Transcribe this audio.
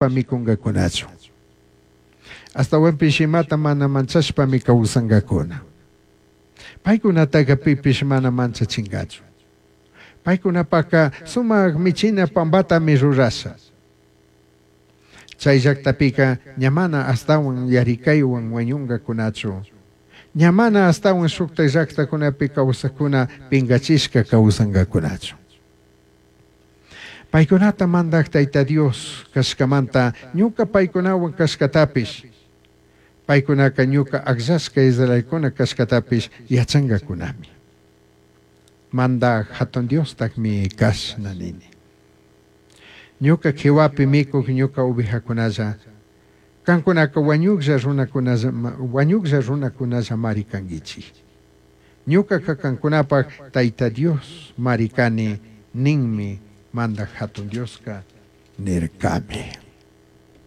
Micungacunachu. Ashtahuanpish imata mana manchashpami causangacuna. Paicunataca pipish mana manchachingachu. Paicunapajca sumaj michina pambatami rurasha. Chai llajtapica ña mana ashtahuan yaricaihuan huañungacunachu. Ña mana ashtahuan shujtaj llajtacunapi causajcuna pingachishca causangacunachu. Paicunata Mandaj Taita Dios cashcamanta ñuca paicunahuan cashcatapish, paicunaca ñuca agllashca israelcuna cashcatapish yachangacunami. Mandaj Jatun Diostajmi cashna nini. Ñuca quihuapi micuj ñuca ovejacunalla, cancunaca huañujlla runacunalla, huañujlla runacunallamari canguichij. Ñucaca cancunapaj Taita Dios mari cani ninmi Mandaj Jatun Diosca nircami.